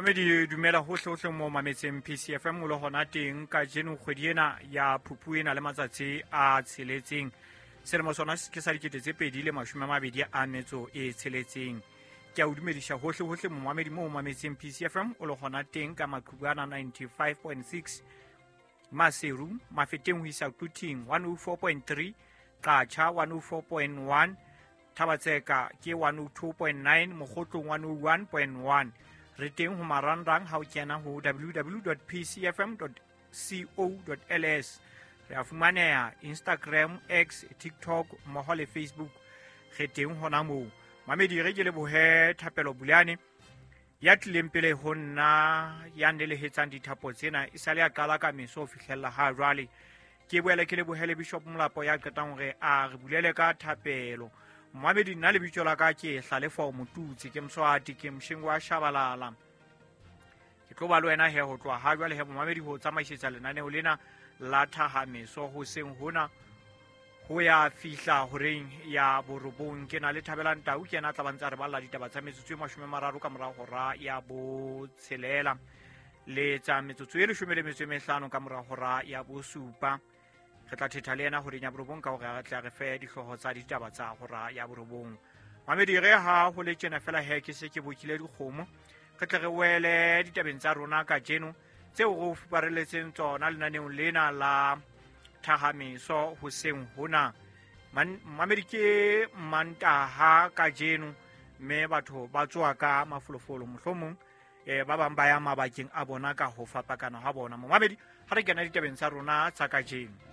Mamedi, dumela hohle hohle mo mametseng PCFM o le hona teng. Kajeno kgwedi ena ya Phupu ena le matsatsi a tsheletseng, selemo sona ke sa 2026. Ke a o dumediša hohle hohle momamedi mo o mametseng PCFM o le gona teng ka Maqhubana 95.6, Maseru, Mafeteng ho isa Quthing 104.3, Qacha 104.1, Thabatseka ke 102.9, Mokgotlong 101.1. Re teng ho marangrang ha o kena ho www pcfm co ls. Re a fumaneha Instagram, X, TikTok mmoho le Facebook, re teng hona moo. Mamedi, re ke lebohe Thapelo Bulane ya tlileng pele ho nna, ya nelehetsang dithapo tsena e sale a qala ka meso ho fihlella ha jwale. Ke boele ke lebohele Bishop Molapo ya qetang hore a re bulele ka thapelo. Moamedi, nna lebitso la ka ke Hlalefo Motutsi, ke Mswati, ke Mshengo wa Shabalala. Ke tlo ba le wena he ho tloha ha jwale he, momamedi, ho tsamaisetsa lenaneo lena la thahameso hoseng hona ho ya fihla horeng ya 9. Ke na le Thabelang Tau, ke yena a tla ba ntse a re balla ditaba tsa metsotso e 30 ka mora hora ya 6, le tsa metsotso e 15 ka mora hora ya 7. Re tla thetha le yena horeng ya 9 ka hore re tla re fe dihlooho tsa ditaba tsa hora ya 9. Mamedi, re ha ho le tjena fela he, ke se ke bokile dikgomo, re tle re wele ditabeng tsa rona kajeno tseo re o fupareletseng tsona lenaneong lena la thahameso hoseng hona. Mamedi, ke Mantaha kajeno, mme batho ba tsoa ka mafolofolo, mohlomong ba bang ba ya mabakeng a bona ka ho fapakana ha bona. Momamedi, ha re kena ditabeng tsa rona tsa kajeno.